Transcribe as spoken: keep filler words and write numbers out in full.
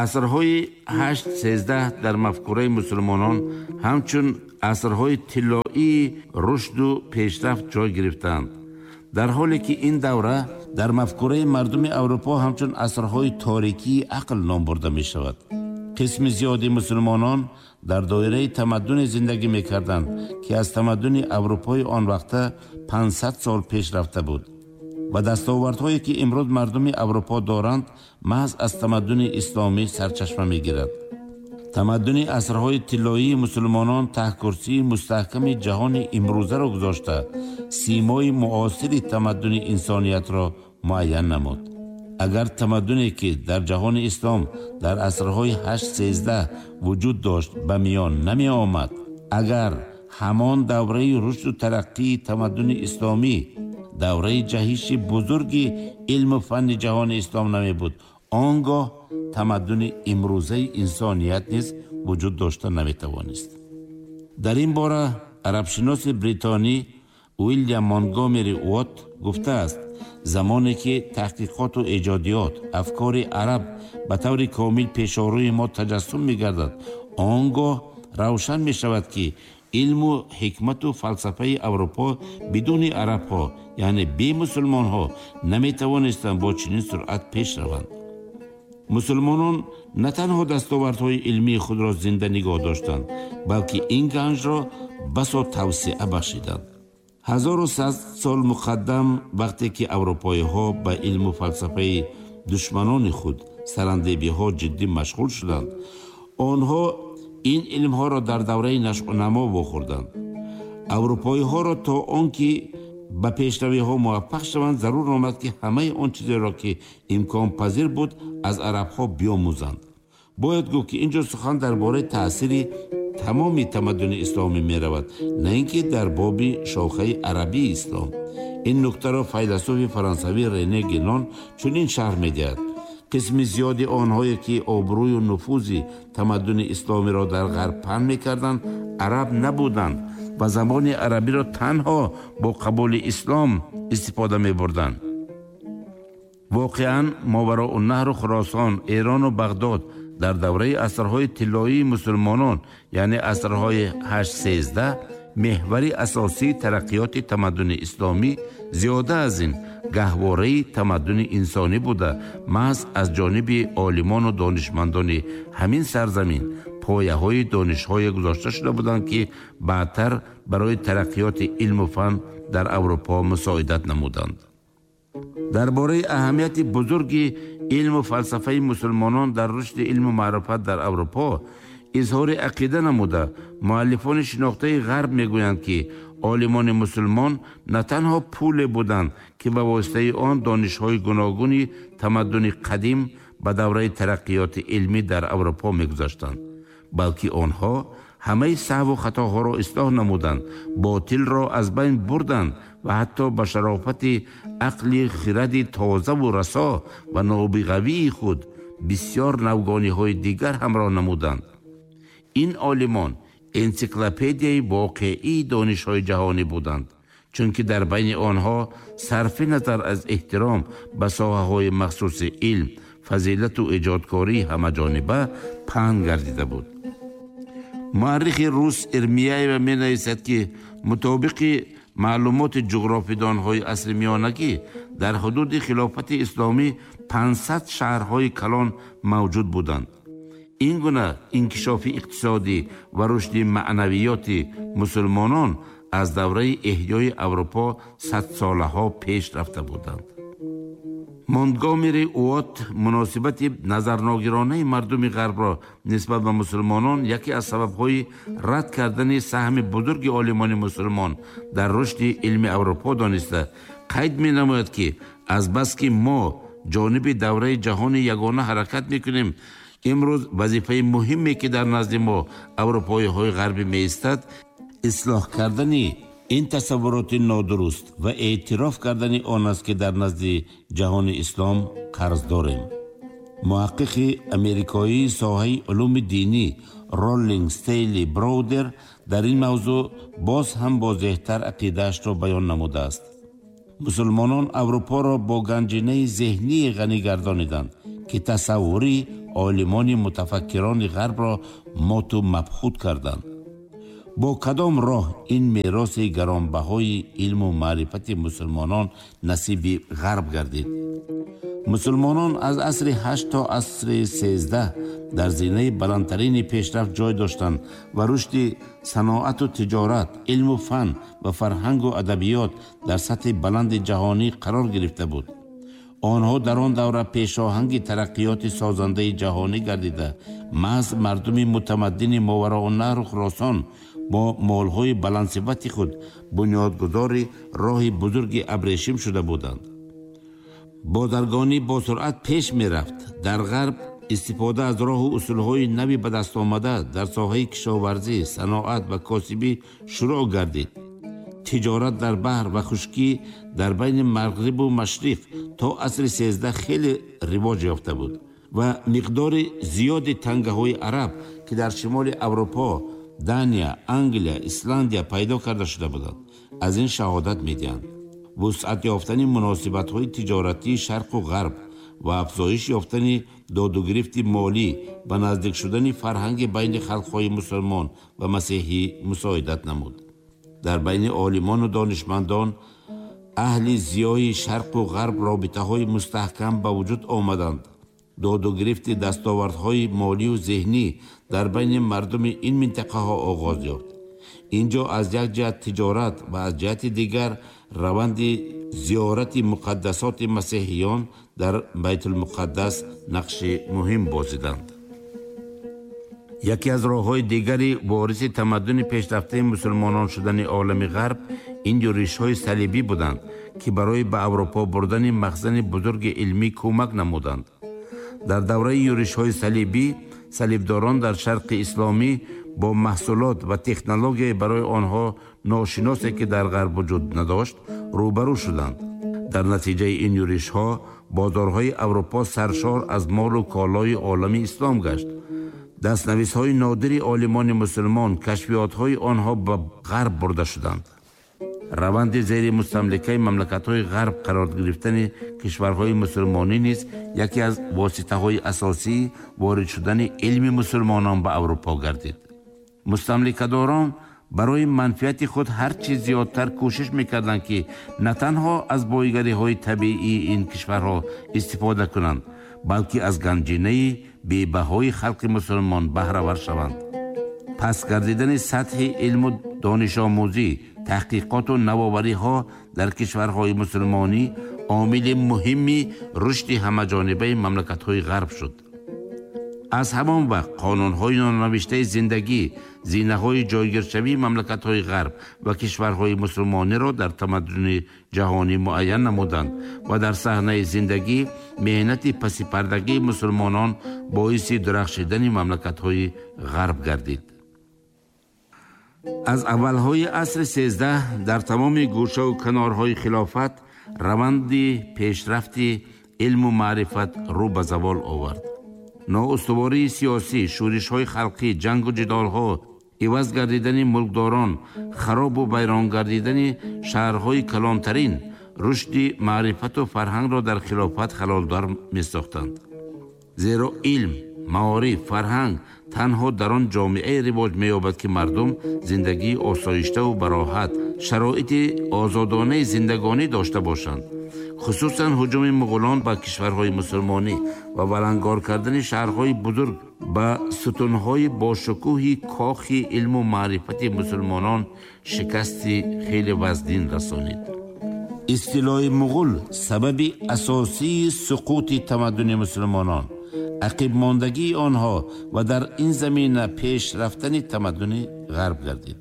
Асрҳои ҳашт сездаҳ дар мафкураи мусулмонон ҳамчун асрҳои тиллоии рушду пешрафт ҷой гирифтаанд, дар ҳоле ки ин давра дар мафкураи мардуми Аврупо ҳамчун асрҳои торикии ақл ном бурда мешавад. Қисми зиёди мусулмонон дар доираи тамаддуне зиндагӣ мекарданд, ки аз тамаддуни Аврупои он вақта панҷсад сол пеш рафта буд ва дастовардҳое ки имрӯз мардуми Аврупо доранд, маҳз аз тамаддуни исломӣ сарчашма мегирад. Тамаддуни асрҳои тиллоии мусулмонон таҳкурсии мустаҳками ҷаҳони имрӯзаро гузошта, симои муосири тамаддуни инсониятро муайян намуд. Агар тамаддуне ки дар ҷаҳони ислом дар асрҳои ҳашт сездаҳ вуҷуд дошт ба миён намеомад, агар ҳамон давраи рушду тараққии тамаддуни исломӣ, давраи ҷаҳиши бузурги илму фанни ҷаҳони ислом намебуд, он гоҳ тамаддуни имрӯзаи инсоният низ вуҷуд дошта наметавонист. Дар ин бора арабшиноси бритонӣ Уилям Монтгомери Уотт гуфтааст: замоне ки таҳқиқоту эҷодиёт афкори араб ба таври комил пешорӯи мо таҷассум мегардад, он гоҳ равшан мешавад, ки илму ҳикмату фалсафаи Аврупо бидуни арабҳо, яъне бемусулмонҳо, наметавонистанд бо чунин суръат пеш раванд. Мусулмонон на танҳо дастовардҳои илмии худро зинда нигоҳ доштанд, балки ин ганҷро басо тавсеа бахшиданд. Ҳазору сад сол муқаддам, вақте ки аврупоиҳо ба илму фалсафаи душманони худ сарандебиҳо ҷиддӣ машғул шуданд, онҳо ин илмҳоро дар давраи нашъунамо вохӯрданд. Аврупоиҳоро то он ки ба пешравиҳо муваффақ шаванд, зарур омад, ки ҳамаи он чизеро ки имконпазир буд аз арабҳо биомӯзанд. Бояд гуфт, ки инҷо сухан дар бораи таъсири тамоми тамаддуни исломӣ меравад, на ин ки дар боби шохаи арабии ислом. Ин нуктаро файласуфи фаронсавӣ Рене Генон чунин шарҳ медиҳад: қисми зиёди онҳое ки обрӯю нуфузи тамаддуни исломиро дар ғарб паҳн мекарданд, араб набуданд ва забони арабиро танҳо бо қабули ислом истифода мебурданд. Воқеан, Мовароуннаҳру Хуросон, Эрону Бағдод дар давраи асрҳои тиллоии мусулмонон, яъне асрҳои ҳашт сездаҳ, меҳвари асосии тараққиёти тамаддуни исломӣ, зиёда аз ин гаҳвораи тамаддуни инсонӣ буда, маҳз аз ҷониби олимону донишмандони ҳамин сарзамин пояҳои донишҳое гузошта шуда буданд, ки баъдтар барои тараққиёти илму фан дар Аврупо мусоидат намуданд. Дар бораи аҳамияти бузурги илму фалсафаи мусулмонон дар рушди илму маърифат дар Аврупо изҳори ақида намуда, муаллифони шинохтаи ғарб мегӯянд, ки олимони мусулмон на танҳо пуле буданд, ки ба воситаи он донишҳои гуногуни тамаддуни қадим ба давраи тараққиёти илмӣ дар Аврупо мегузаштанд, балки онҳо ҳамаи саҳву хатоҳоро ислоҳ намуданд, ботилро аз байн бурданд ва ҳатто ба шарофати ақли хиради тозаву расо ва нобиғавии худ бисёр навгониҳои дигар ҳамроҳ намуданд. Ин олимон энсиклопедияи воқеии донишҳои ҷаҳонӣ буданд, чунки дар байни онҳо сарфи назар аз эҳтиром ба соҳаҳои махсуси илм, фазилату эҷодкории ҳамаҷониба паҳн гардида буд. Муаррихи рус Ирмияева менависад, ки мутобиқи маълумоти ҷуғрофидонҳои асри миёнагӣ дар ҳудуди хилофати исломӣ панҷсад шаҳрҳои калон мавҷуд буданд. Ин гуна инкишофи иқтисодӣ ва рушди маънавиёти мусулмонон аз давраи эҳёи Аврупо садсолаҳо пеш рафта буданд. Монтгомери Уотт муносибати назарногиронаи мардуми ғарбро нисбат ба мусулмонон яке аз сабабҳои рад кардани саҳми бузурги олимони мусулмон дар рушди илми Аврупо дониста, қайд менамояд, ки азбаски мо ҷониби давраи ҷаҳони ягона ҳаракат мекунем, имрӯз вазифаи муҳиме ки дар назди мо аврупоиҳои ғарбӣ меистад, ислоҳ кардани ин тасаввуроти нодуруст ва эътироф кардани он аст, ки дар назди ҷаҳони ислом қарз дорем. Муҳаққиқи америкоии соҳаи улуми динӣ Роллинг Стейли Броудер дар ин мавзӯъ боз ҳам возеҳтар ақидаашро баён намудааст. Мусулмонон Аврупоро бо ганҷинаи зеҳнии ғанӣ гардониданд, ки тасаввури Олимони мутафаккирони ғарбро моту мабҳут карданд. Бо кадом роҳ ин мероси гаронбаҳои илму маърифати мусулмонон насиби ғарб гардид? Мусулмонон аз асри ҳашт то асри сездаҳ дар зинаи баландтарини пешрафт ҷой доштанд ва рушди саноату тиҷорат, илму фан ва фарҳангу адабиёт дар сатҳи баланди ҷаҳонӣ қарор гирифта буд. Онҳо дар он давра пешоҳанги тараққиёти созандаи ҷаҳонӣ гардида, маҳз мардуми мутамаддини Мовароуннаҳру Хуросон бо молҳои баландсифати худ бунёдгузори роҳи бузурги абрешим шуда буданд. Бозаргонӣ бо суръат пеш мерафт. Дар ғарб истифода аз роҳу усулҳои нави ба даст омада дар соҳаи кишоварзӣ, саноат ва косибӣ шурӯъ гардид. Тиҷорат дар баҳр ва хушкӣ дар байни мағрибу машриқ то асри сездаҳ хеле ривоҷ ёфта буд ва миқдори зиёди тангаҳои араб, ки дар шимоли Аврупо, Дания, Англия, Исландия пайдо карда шуда буданд, аз ин шаҳодат медиҳанд. Вусъат ёфтани муносибатҳои тиҷоратии шарқу ғарб ва афзоиш ёфтани додугирифти молӣ ба наздик шудани фарҳанги байни халқҳои мусулмон ва масеҳӣ мусоидат намуд. Дар байни олимону донишмандон аҳли зиёи шарқу ғарб робитаҳои мустаҳкам ба вуҷуд омаданд. Додугирифти дастовардҳои молию зеҳнӣ дар байни мардуми ин минтақаҳо оғоз ёфт. Инҷо аз як ҷиҳат тиҷорат ва аз ҷиҳати дигар раванди зиёрати муқаддасоти масеҳиён дар Байтулмуқаддас нақши муҳим бозиданд. Яке аз роҳҳои дигари вориси тамаддуни пешрафтаи мусулмонон шудани олами ғарб ин юришҳои салибӣ буданд, ки барои ба Аврупо бурдани махзани бузурги илмӣ кӯмак намуданд. Дар давраи юришҳои салибӣ салибдорон дар шарқи исломӣ бо маҳсулот ва технологияи барои онҳо ношиносе, ки дар ғарб вуҷуд надошт, рӯбарӯ шуданд. Дар натиҷаи ин юришҳо бозорҳои Аврупо саршор аз молу колои олами ислом гашт. Дастнависҳои нодири олимони мусулмон, кашфиётҳои онҳо ба ғарб бурда шуданд. Раванди зери мустамликаи мамлакатҳои ғарб қарор гирифтани кишварҳои мусулмонӣ низ яке аз воситаҳои асосии ворид шудани илми мусулмонон ба Аврупо гардид. Мустамликадорон барои манфиати худ ҳар чиз зиёдтар кӯшиш мекарданд, ки на танҳо аз боигариҳои табиии ин кишварҳо истифода кунанд, балки аз ганҷинаи бебаҳои халқи мусулмон баҳравар шаванд. Пас гардидани сатҳи илму донишомӯзӣ, таҳқиқоту навовариҳо дар кишварҳои мусулмонӣ омили муҳими рушди ҳамаҷонибаи мамлакатҳои ғарб шуд. Аз ҳамон вақт қонунҳои нонавиштаи зиндагӣ, зинаҳои ҷойгиршавии мамлакатҳои ғарб ва кишварҳои мусулмониро дар тамаддуни ҷаҳонӣ муайян намуданд ва дар саҳнаи зиндагӣ меҳнати пасипардагии мусулмонон боиси дурахшидани мамлакатҳои ғарб гардид. Аз аввалҳои асри сездаҳ дар тамоми гӯшаву канорҳои хилофат раванди пешрафти илму маърифат рӯ ба завол овард. Ноустувории сиёсӣ, шӯришҳои халқӣ, ҷангу ҷидолҳо, иваз гардидани мулкдорон, харобу вайрон гардидани шаҳрҳои калонтарин рушди маърифату фарҳангро дар хилофат халалдор месохтанд. Зеро илм, маориф, фарҳанг танҳо дар он ҷомеае ривоҷ меёбад, ки мардум зиндагии осоиштаву бароҳат, шароити озодонаи зиндагонӣ дошта бошанд. Хусусан ҳуҷуми муғулон ба кишварҳои мусулмонӣ ва валангор кардани шаҳрҳои бузург ба сутунҳои бошукӯҳи кохи илму маърифати мусулмонон шикасти хеле вазнин расонид. Истилои муғул сабаби асосии суқути тамаддуни мусулмонон, ақибмондагии онҳо ва дар ин замина пеш рафтани тамаддуни ғарб гардид.